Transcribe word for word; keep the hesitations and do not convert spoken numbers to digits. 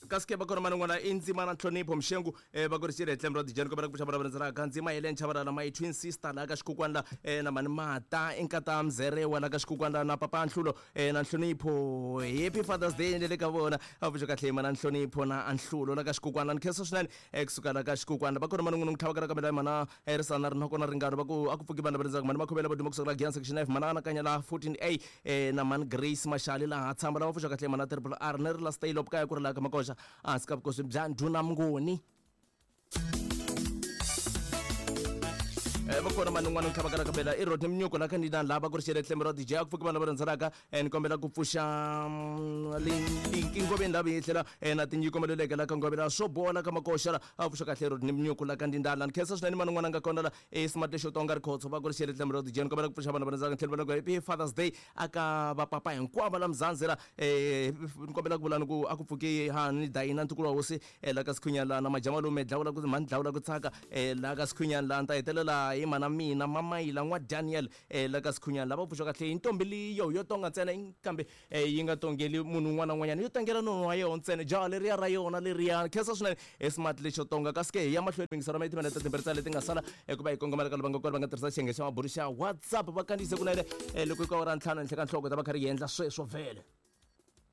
Kasi ke va kona man'wana i ndzima na nhlonipho mxengu eh, va ku ri xirhe tlembe ra dijeni kombela ku pfuxa vana va ndzima Helen Chabalala my twin sister la ka xikukwana la eh, na mani mata i nkata mzerewa la ka xikukwana la na papa Nhlulo eh, na nhlonipho. Happy Father's Day le ka vona. A pfuxa kahle mana nhlonipho na Nhlulo la ka xikukwana. Ni khensa swinene eh, kusuka la ka xikukwana. Va kona man'wana n'wi tlhava ka kamela mana eh, risana rinoko na ringano va ku a ku pfuki vanhu va rindzaka mani makhomela va duma kusuka la Giyani section F mana anakanya la fourteen A eh, na mani Grace Mashali laha tshamba lava pfuxa kahle mana triple R ni ri la stay lop kaya ku ri la ka makoxa a sika vukosi bya ndhuna Mnguni. Eh, va kona mani un'wana tlhava ka kabela i Rodney Mnyuko la kandida la va ku ri xele tlembe ra D J a ku pfuki vanhu va rhandzanaka eh, ni kombela ku pfuxa linki ngoveni la vi tlhela eh, na tinyiko maluleke la ka ngovela swo bola ka makoxa la a pfuxa kahle Rodney Mnyuko la kandida la ni khensa swinene mani un'wana nga kona la eh, smart lexo tonga rikhotso va ku ri xele tlembe ra D J ni kombela ku pfuxa vanhu va rhandzanaka tlhela va ku happy Father's Day aka va papa hinkwavo la Mzansi la eh, ni kombela ku vula ni ku a ku pfuki ha ni dayina ntukulu wa hosi eh, la ka Sikhunyana la na majamalume dlawula ku mani dlawula ku tsaka eh, la ka Sikhunyana la ni ta hetelela hi mana mina Mamayila n'wa Daniel eh, la ka Sikhunyana lava pfuxa kahle hi ntombi leyo yo tonga ntsena kambe eh, yi nga tongeli munhu un'wana na un'wanyana yo tongela nono wa yona ntsena jaha leriya ra yona leriya. Khensa swinene eh, smart lexo tonga. Kasi ke hi ya mahlweni yingisela ma timinete timbirhi tsa leti nga sala eh, ku va hi kongomela ka lava nga kona va nga tirhisa xiyenge xa mabulu xa WhatsApp va kandziyise kunene eh, loko yi ka awara ntlhanu henhla ka nhloko ta va kha ri endla sweswo vhele.